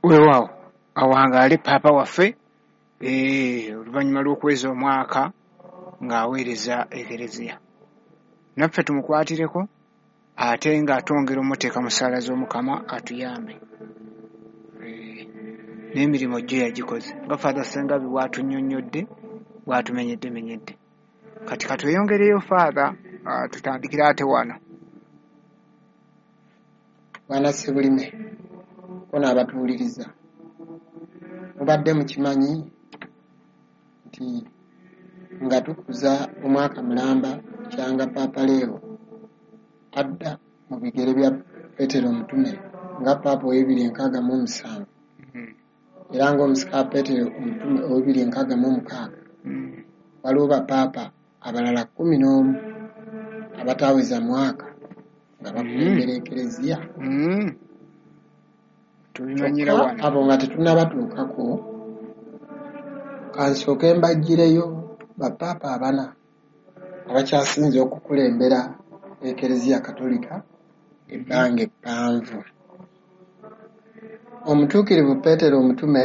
Weewaawo, awangaale Paapa waffe oluvannyuma lw'okuweza omwaka ng'aweereza Ekereziya. Naffe tumukwatireko ate nga twongera omuteeka mu ssaala z'Omukama atuyambe. N'emirimu gyo yagikoze nga Father Ssengabi bw'atunnyonnyodde, bw'atumenyeddemenyedde. Kati katweyongereyo Father, tutandikire ate wano. Bwana Ssebulime ko n'abatuwuliriza, mubadde mukimanyi nti nga tukuza omwaka mulamba kyanga Paapa Leo adda mu bigere bya Petero Omutume nga Paapa ow'267 era ng'omusika Petero Omutume ow'266, waliwo bapaapa abalala 11 abataweza mwaka nga bakulembera Ekereziya. Tubimanyira wano. Abo nga tetunnabatuukako, kansooke mbaggireyo bapaapa abana abakyasinze okukulembera Ekereziya Katolika ebbanga eppanvu. Omutuukirivu Petero Omutume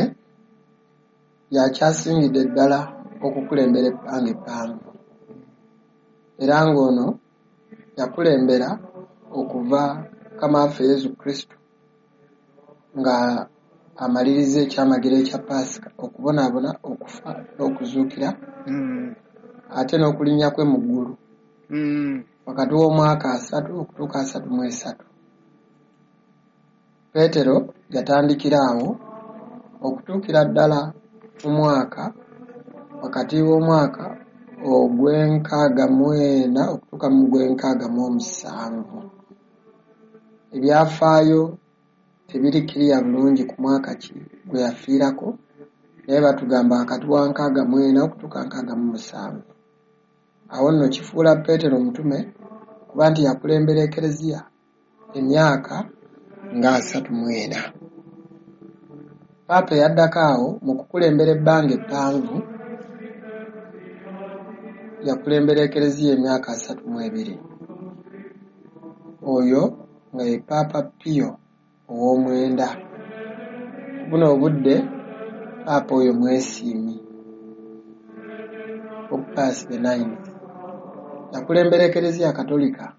yakyasingidde ddala okukulembera ebbanga eppanvu, era ng'ono yakulembera okuva Mukama waffe Yesu Kristo nga amaliriza ekyamagero ekya Paasika, okubonaabona, okufa n'okuzuukira, ate n'okulinnya kwe mu ggulu wakati w'omwaka 30 okutuuka 33. Petero yatandikira awo okutuukira ddala mu mwaka wakati w'omwaka ogw'e64 okutuuka mu gw'e67. Ebyafaayo tebiri kiriya bulungi ku mwaka ki gwe yafiirako, naye batugamba wakati wa 64 okutuuka 67. Awo nno kifuula Petero Omutume kuba nti yakulembera Ekereziya emyaka nga 34. Paapa eyaddako awo mu kukulembera ebbanga eppanvu yakulembera Ekereziya emyaka 32. Oyo nga ye Paapa Pio ow'omwenda. Buno obudde Paapa oyo mwesiimi, Pope Pius the Ninth, yakulembera Ekereziya Katolika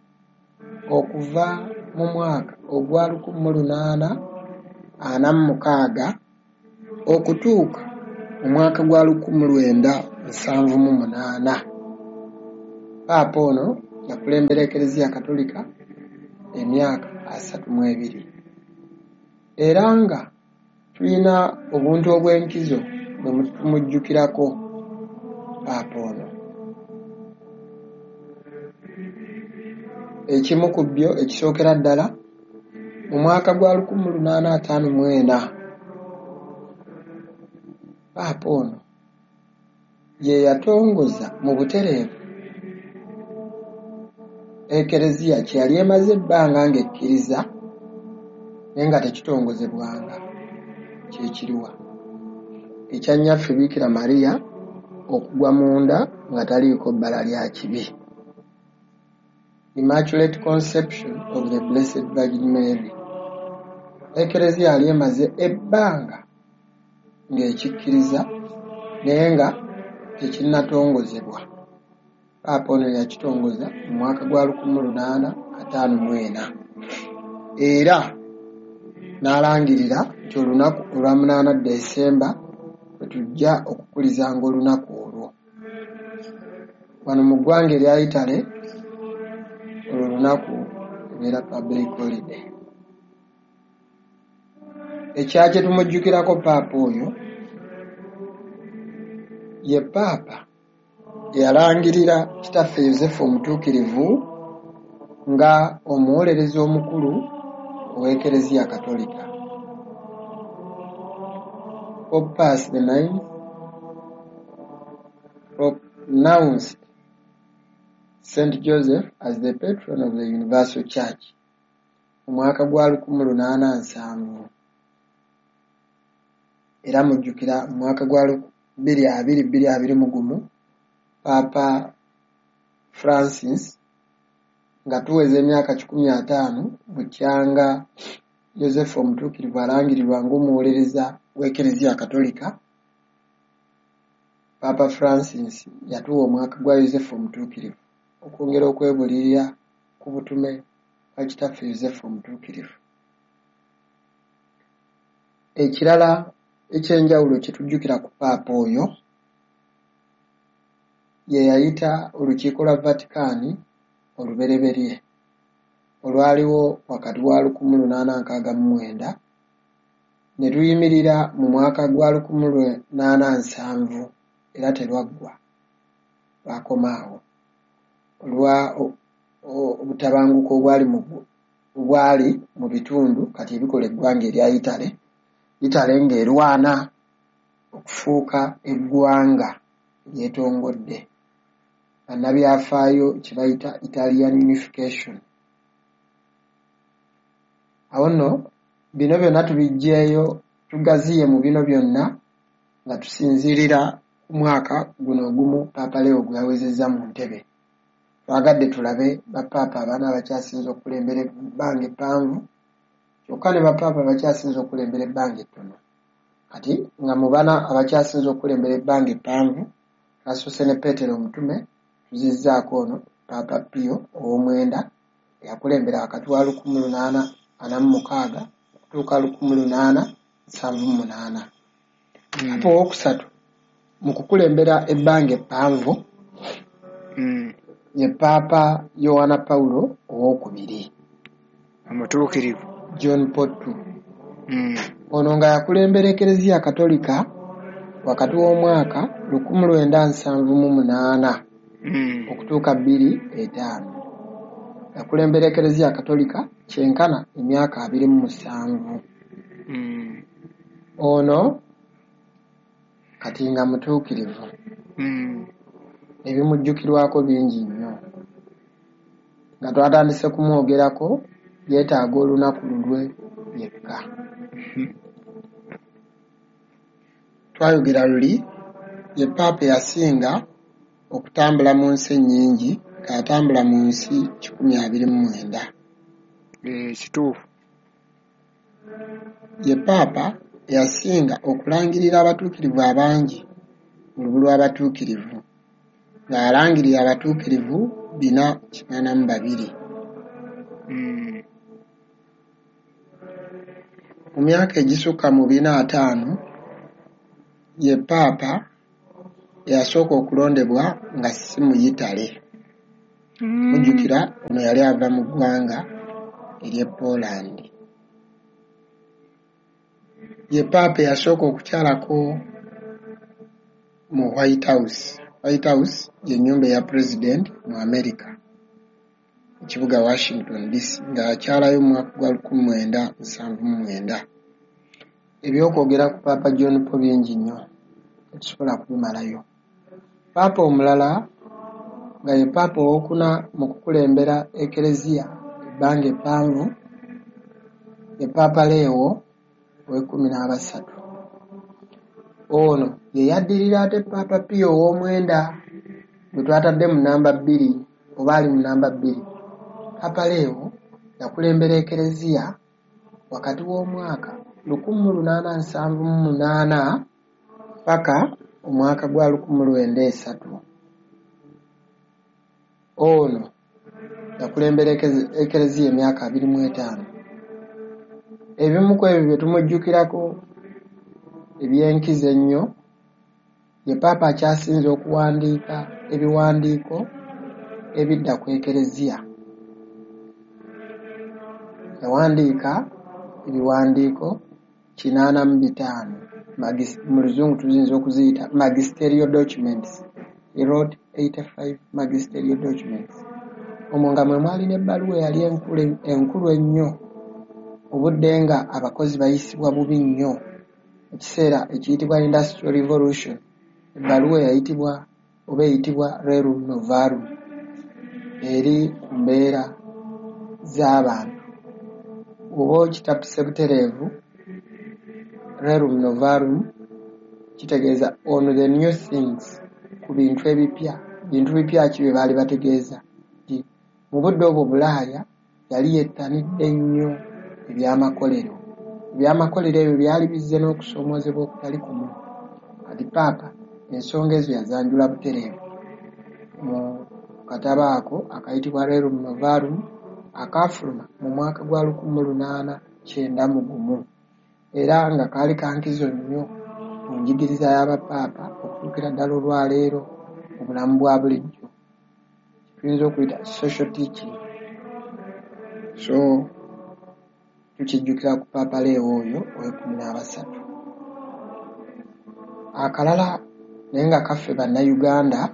okuva mu mwaka ogwa 1846 okutuuka mu mwaka gwa 1978. Paapa ono yakulembera Ekereziya Katolika emyaka 32. Era nga tulina obuntu obw'enkizo bwe tumujjukirako Paapa ono. Ekimu ku byo ekisookera ddala mu mwaka gwa 1854, Paapa ono ye yatongoza mu butereevu Ekereziya kye yali emaze ebbanga ng'ekkiriza naye nga tekitongozebwanga, kye kiriwa ekya nnyaffe Biikira Maria okugwa munda nga taliiko bbala lya kibi, Immaculate Conception of the Blessed Virgin Mary. Ekereziya yali emaze ebbanga ng'ekikkiriza naye nga tekinnatongozebwa. Paapa ono yakitongoza mu mwaka gwa 1854 era n'alangirira nti olunaku olwa 8 Desemba lwe tujja okukulizanga olunaku olwo. Wano mu ggwanga erya Italy olwo olunaku ebeera public holiday. Ekya kye tumujjukirako Paapa oyo ye Paapa eyalangirira Kitaffe Yosefu Omutuukirivu nga omuwolereza omukulu ow'Ekereziya Katolika. Pope Pius the Ninth pronounced St. Joseph as the patron of the Universal Church mu mwaka gwa 1870. Era mujjukira mu mwaka gwa 2021 Paapa Francis nga tuweza emyaka 150 bukyanga Yosefu Omutuukirivu alangirirwa ng'omuwolereza w'Ekereziya Katolika, Paapa Francis yatuwa omwaka gwa Yosefu Omutuukirivu okwongera okwebuulirira ku butume bwa Kitaffe Yosefu Omutuukirivu. Ekirala ekyenjawulo kye tujjukira ku Paapa oyo, ye yayita olukiiko lwa Vatican olubereberye olwaliwo wakati wa 1869 ne luyimirira mu mwaka gwa 1870, era terwaggwa, lwakoma awo olwa obutabanguko obwali mu bitundu kati ebikola eggwanga erya Italy, Italy ng'erwana okufuuka eggwanga eryetongodde, bannabyafaayo kye bayita Italian Unification. Awo nno bino byonna tubiggyeeyo, tugaziye mu bino byonna nga tusinziirira ku mwaka guno ogumu Paapa Leo gwe yawezezza mu ntebe. Twagadde tulabe bapaapa abana abakyasinze okukulembera ebbanga eppanvu, kyokka ne bapaapa abakyasinze okukulembera ebbanga ettono. Kati nga mu bana abakyasinze okukulembera ebbanga eppanvu, twasoose ne Peetero Omutume, tuzizzaako ono Paapa Pio ow'omwenda eyakulembera wakati wa 1846 okutuuka 1878. Paapa owookusatu mu kukulembera ebbanga eppanvu ye Paapa Yowaana Pawulo owookubiri, Omutuukirivu. John Paul II. Ono nga yakulembera Ekereziya Katolika wakati w'omwaka 1978 okutuuka 2005. Yakulembera Ekereziya Katolika kyenkana emyaka 27. Ono kati nga mutuukirivu, ebimujjukirwako bingi nnyo. Nga twatandise kumwogerako, yeetaaga olunaku lulwe yekka. Twayogera luli ye Paapa eyasinga okutambula mu nsi ennyingi, ng'atambula mu nsi 129. Kituufu. Ye Paapa eyasinga okulangirira abatuukirivu abangi mu lubu lw'abatuukirivu, ng'alangirira abatuukirivu 482. Mu myaka egisukka mu 450, ye Paapa eyasooka okulondebwa nga si Muyitale. Mujjukira ono yali ava mu ggwanga ery'e Poland. Ye Paapa eyasooka okukyalako mu White House. White House y'ennyumba eya President mu America, ekibuga Washington DC, nga yakyalayo mu mwaka gwa 1979. Ebyokwogera ku Paapa John Paul bingi nnyo, tetusobola kubimalayo. Paapa omulala nga ye Paapa owookuna mu kukulembera Ekereziya ebbanga eppanvu ye Paapa Leo ow'e13. Ono ye yaddirira ate Paapa Pio ow'omwenda gwe twatadde mu namba 2, oba ali mu namba 2. Paapa Leo yakulembera Ekereziya wakati w'omwaka 1878 paka omwaka gwa 1903. Ono yakulembera Ekereziya emyaka 25. Ebimu ku ebyo bye tumujjukirako ebyenkizo ennyo, ye Paapa akyasinze okuwandiika ebiwandiiko ebidda ku Ekereziya. Yawandiika ebiwandiiko 85, mu Luzungu tuyinza okuziyita magisterial documents. He wrote 85 magisterial documents. Omwo nga mwe mwali n'ebbaluwa eyali enkulu ennyo, obudde nga abakozi bayisibwa bubi nnyo, ekiseera ekiyitibwa Industrial Revolution, ebbaluwa eyayitibwa oba eyitibwa Rerum Novarum, eri ku mbeera z'abantu. Bw'oba okitapuse butereevu, Rerum Novarum kitegeeza on the new things, ku bintu ebipya. Bintu bipya ki bye baali bategeeza? Nti mu budde obwo Bulaaya yali yettanidde nnyo ebyamakolero. Ebyamakolero ebyo byali bizze n'okusoomoozebwa okutali kumu. Kati Paapa ensonga ezo yazanjula butereevu mu katabo ako akayitibwa Rerum Novarum, akaafuluma mu mwaka gwa 1891, era nga kaali kankizo nnyo mu njigiriza y'abapaapa okutuukira ddala olwaleero mu bulamu bwa bulijjo, tuyinza okuyita social teaching. So tukijjukira ku Paapa Leo oyo ow'e13. Akalala naye nga kaffe Bannayuganda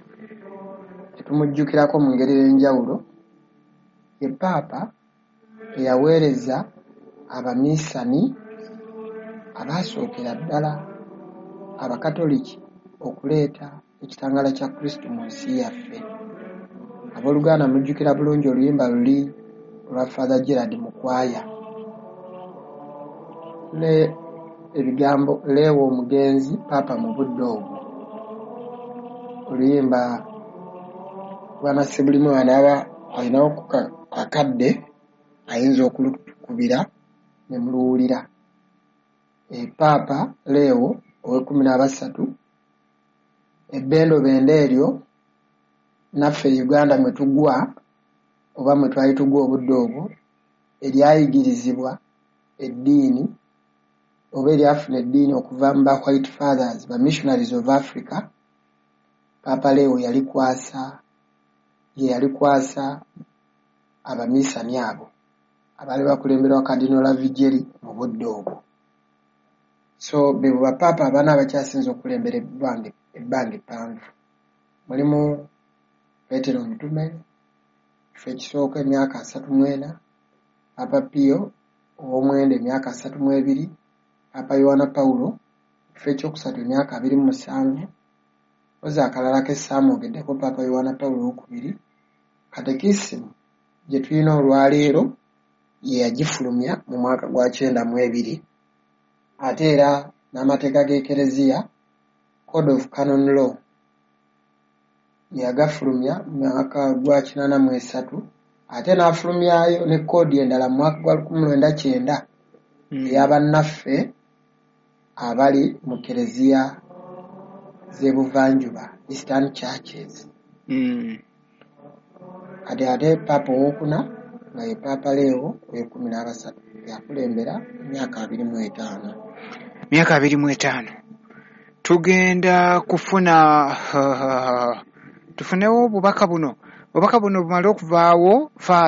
tetumujjukirako mu ngeri ey'enjawulo, ye Paapa eyaweereza abaminsani abaasookera ddala Abakatoliki okuleeta ekitangaala kya Kristo mu nsi yaffe. Abooluganda, mujjukira bulungi oluyimba luli olwa Father Gerard Mukwaya ne ebigambo Leewo omugenzi Paapa mu budde obwo. Oluyimba Bwana Ssebulimu anaaba alinawo akadde ayinza okulutukubira ne muluwulira. Paapa Leewo ow'e13, ebbendobendo eryo naffe Uganda mwe tugwa oba mwe twali tugwa obudde obwo, eryayigirizibwa eddiini oba eryafuna eddiini okuva mu ba White Fathers, ba Missionaries of Africa. Paapa Leo yalikwasa, ye yalikwasa abaminsani abo abaali bakulemberwa Cardinal Lavigeri mu budde obwo. So be bapaapa abana abakyasinze okukulembera ebbanga eppanvu. Mulimu Peetero Omutume, kifo ekisooka, emyaka 34; Paapa Pio ow'omwenda, emyaka 32; Paapa Yowana Pawulo, ekifo ekyokusatu, emyaka 27. Oza akalala ke ssaamwogeddeko, Paapa Yowana Pawulo owokubiri, katekisimu gye tulina olwaleero ye yagifulumya mu mwaka gwa 92. Ate era n'amateeka g'Ekereziya, Code of Canon Law, yagafulumya mu mwaka gwa 83, ate n'afulumyayo ne koodi endala mu mwaka gwa 1990 ey'abannaffe abali mu kereziya z'ebuvanjuba, Eastern Churches. Kati ate Paapa owokuna nga ye Paapa Leo ow'e13, yakulembera emyaka 25. Myaka 25. Tugenda kufuna tufunewo obubaka buno, obubaka buno bumale okuvaawo, Father.